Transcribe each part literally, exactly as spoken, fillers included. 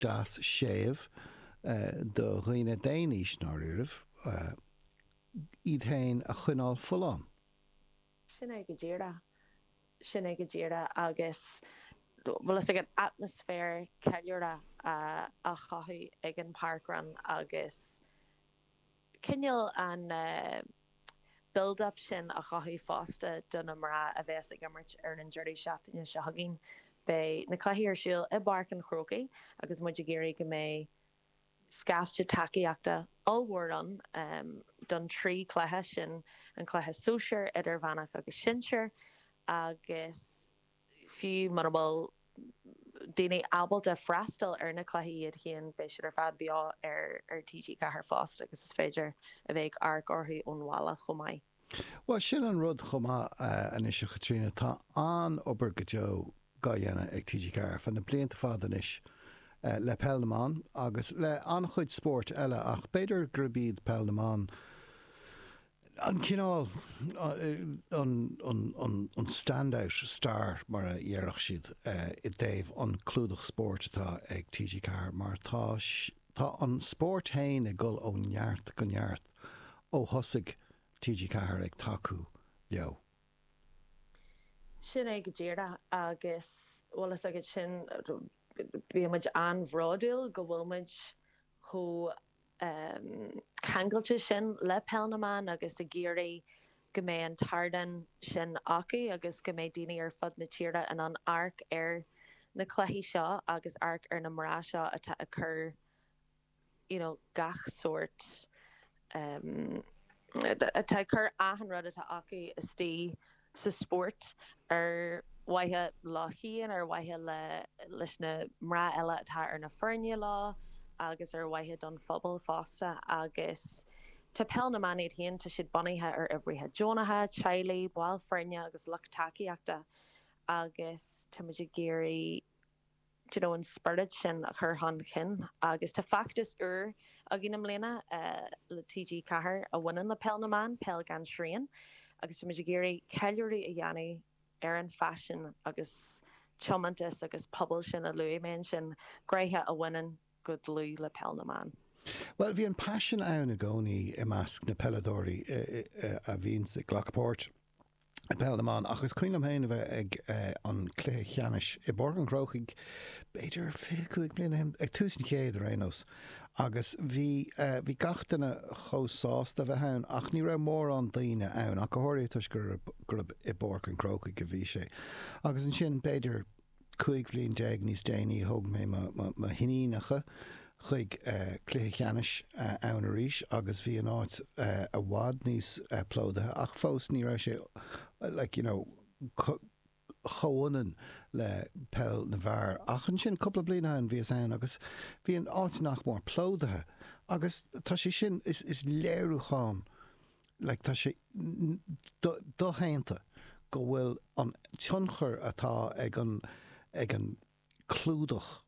deas séimh do dhaoine d'aon aois ndáiríribh iad féin a choinneáil folláin. Sin é go díreach. Sin é go díreach agus bhfuil a fhios agat atmaisféar ceiliúrtha a chothú ag an parkrun agus cineál an build up sin a chothú fosta do na mná a bheas ag imirt ar an deireadh seachtaine seo chugainn. Beidh na cluichí ar siúl i bPáirc an Chrócaigh agus muid ag iarraidh go mbeidh scaifte tacaíochta ollmhór ann don trí chluiche sin, an cluiche sóisir, idirmheánach agus sinsir agus fiú mura bhfuil daoine ábalta freastal ar na cluichí iad féin, beidh siad ar fad beo ar ar T G Ceathair fosta agus is féidir a bheith ag amharc orthu ón bhaile chomh maith. Bhuel, sin an rud chomh maith anois, a Chaitríona, tá an-obair go deo dhá dhéanamh ag T G Ceathair ar feadh na blianta fada anois le Peil na mBan agus le an-chuid spóirt eile ach b'fhéidir gurb iad Peil na mBan an cineál an an an an standout star mar a dhéarfadh siad i dtaobh an clúdach spóirt atá ag T G Ceathair mar tá tá an spórt féin ag dul ó neart go neart ó thosaigh T G Ceathair ag tacú leo. Sin é go díreach agus bhfuil a fhios agat sin bíonn muid an-bhródúil go bhfuil muid chomh ceangailte sin le Peil na mBan agus ag iarraidh go mbeidh an t-ardán sin acu agus go mbeidh daoine ar fud na tíre in ann amharc ar na cluichí seo agus amharc ar na mná seo atá ag cur you know gach sórt um, atá ag cur achan rud atá acu istigh sa spórt ar mhaithe leo féin, ar mhaithe le leis na mná eile atá ar na foirne leo agus ar mhaithe don phobal fosta agus tá Peil na mBan iad féin, tá siad bunaithe ar oibrithe deonacha, teaghlaigh, baill foirne agus lucht tacaíochta agus tá muid ag iarraidh you know, an spiorad sin a chur chun cinn agus tá feachtas úr againn i mbliana uh, le T G Ceathair a bhaineann le Peil na mBan, Peil gan Srian, agus tá muid ag iarraidh ceiliúradh a dhéanamh ar an phaisean agus tiomantas agus pobal sin a luaigh mé sin gnéithe a bhaineann go dlúth le Peil na mBan. Well, bhí an paisean ann i gcónaí i measc na peileadóirí a bhíonn ag glacadh páirt i bPeil na mBan ach is cuimhin liom féin a bheith ag an cluiche ceannais i bPáirc an Chrócaigh b'fhéidir fiche cúig bliana ag tús an chéad ar aon nós agus bhí bhí gach duine chomh sásta bheith ann ach ní raibh mórán daoine ann ach go háirithe toisc gurb i bPáirc an Chrócaigh a bhí sé. Agus ansin b'fhéidir cúig bhliain déag níos déanaí thóg mé mo hiníonacha chuig cluiche ceannais ann arís agus bhí an áit i bhfad níos plódaithe ach fós ní raibh sé like, you know, comhionann le peil na bhfear. Ach ansin cúpla bliain ann bhíos ann agus bhí an áit nach mór plódaithe agus tá sé sin is, is léiriúchán like, tá sé doshéanta go bhfuil an tionchar atá ag an ag an clúdach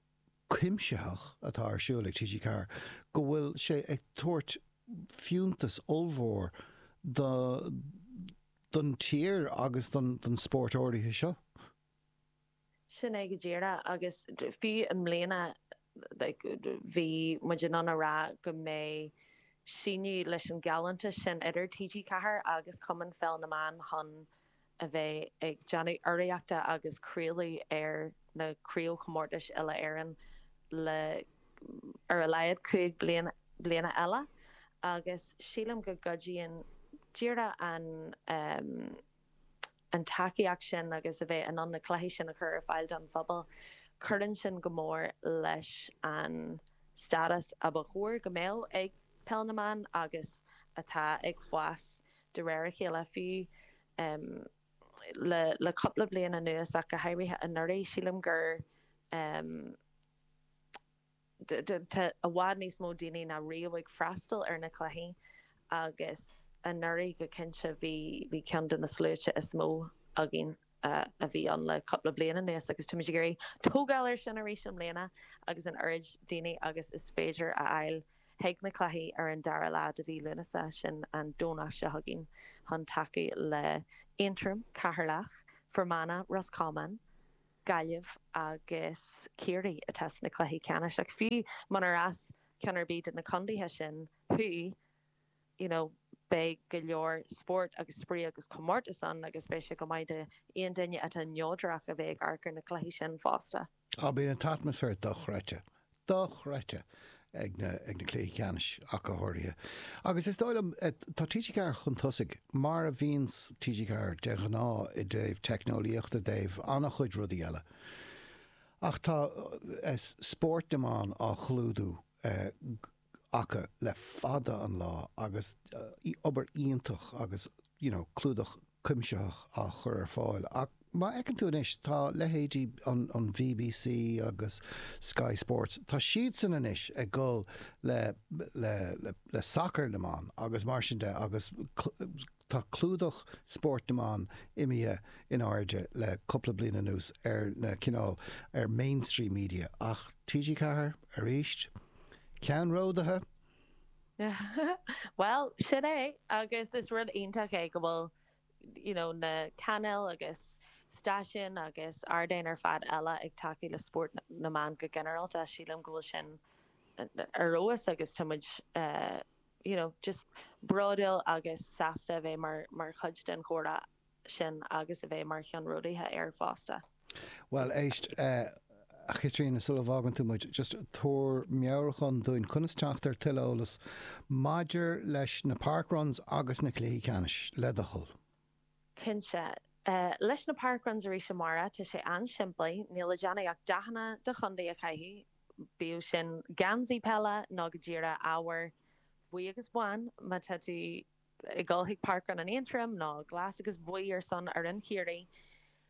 cuimsitheach atá ar siúl ag T G Ceathair go bhfuil sé ag tabhairt fiúntas ollmhór do don tír agus don don spórt áirithe seo. Sin é go díreach agus fiú i mbliana bhí muid in ann a rá go mbeidh síneadh leis an gealltanais sin idir T G Ceathair agus Cumann Pheil na mBan chun a bheith ag déanamh urraíochta agus craoladh ar na craobhchomórtais uile Éireann le ar a laghad cúig bliana bliana eile agus sílim go gcuidíonn díreach an um, an tacaíocht sin agus a bheith in ann na cluichí sin a chur ar fáil don phobal. Cuireann sin go mór leis an stádas a ba chóir go mbeadh ag Peil na mBan agus atá ag fás de réir a chéile fiú um, le le cúpla bliain anuas ach go háirithe anuraidh sílim gur um, tá i bhfad níos mó daoine ná riamh ag freastal ar na cluichí agus anuraidh go cinnte bhí bhí ceann de na sluaite is mó againn uh, a bhí ann le cúpla bliain anuas agus tá muid ag iarraidh tógáil air sin arís i mbliana agus an oiread daoine agus is féidir a fháil chuig na cluichí ar an dara lá de mhí Lúnasa sin an Domhnach seo chugainn chun tacú le Aontroim, Ceatharlach, Fermanagh, Roscommon, Gaillimh agus Ciarraí atá sna cluichí ceannais ach fiú munar as ceann ar bith de na contaetha sin thú, you know, beidh go leor spórt agus spraoi agus comórtas ann agus beidh sé go maith d'aon duine atá neodrach a bheith ag amharc ar na cluichí sin fosta. Á bíonn an t-atmaisféar dochreidte, dochreidte ag na ag na cluichí ceannais ach go háirithe. Agus is dóigh liom, tá T G Ceathair chun tosaigh, mar a bhíonns T G Ceathair de ghnáth i dtaobh teicneolaíochta, i dtaobh an-chuid rudaí eile. Ach tá spórt na mban á chlúdú acu le fada an lá agus obair iontach agus you know clúdach cuimsitheach á chur ar fáil. Ach má fheiceann tú anois, tá leithéidí an an B B C agus Sky Sports, tá siadsan anois ag dul le le le le sacar na mban agus mar sin de agus tá clúdach spórt na mban imithe in airde le cúpla bliain anuas ar na cineál ar mainstream media ach T G Ceathair arís ceannródaithe. Well, sin é agus is rud iontach é go bhfuil you know, na cainéil agus stáisiúin agus ardáin ar fad eile ag tacú le spórt na mban go ginearálta. Sílim go bhfuil sin ar fheabhas agus tá muid uh, you know, just bródúil agus sásta a bheith mar mar chuid den chomhrá sin agus a bheith mar cheannródaithe air fosta. Well, éist, uh, a Chaitríona, sula bhfágann tú muid, just tabhair meabhrúchán dúinn conas teacht ar tuilleadh eolas maidir leis na parkruns agus na cluichí ceannais, le do thoil. Cinnte. Uh, leis na parkruns arís amárach, tá sé an-simplí, níl le déanamh ach dathanna do chontae a chaitheamh, bíodh sin geansaí peile nó go díreach ábhar buí agus bán má tá tú ag dul chuig parkrun an Aontroim nó glas agus buí ar son ar an Chiarraí.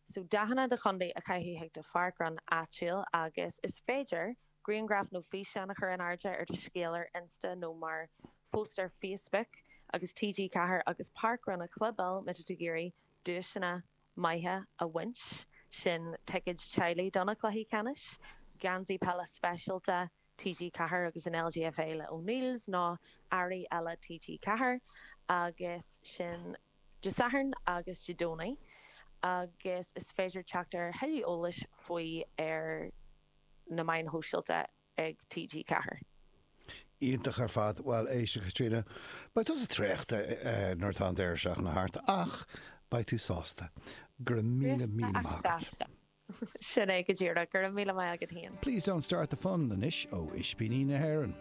So dathanna do chontae a chaitheamh chuig do pharkrun áitiúil agus is féidir grianghraf nó físeán a chur in airde ar do scéal ar Insta nó mar phost ar Facebook agus T G Ceathair agus parkrun a chlibeáil má tá tú ag iarraidh duaiseanna maithe a bhaint, sin ticéid teaghlaigh do na cluichí ceannais, geansaí peile speisialta T G Ceathair agus an L G F A le O'Neill's nó earraí eile T G Ceathair agus sin Dé Sathairn agus Dé Domhnaigh agus is féidir teacht ar thuilleadh eolais faoi ar na meáin shóisialta ag T G Ceathair. Iontach ar fad. Well, éist, a Chaitríona, beidh tusa traochta nuair atá an deireadh seachtaine thart, ach beidh tú sásta. Go raibh míle míle maith agat. Sin é go díreach, go raibh míle maith agat féin. Please Don't Start the Fun anois ó Ispíní na hÉireann.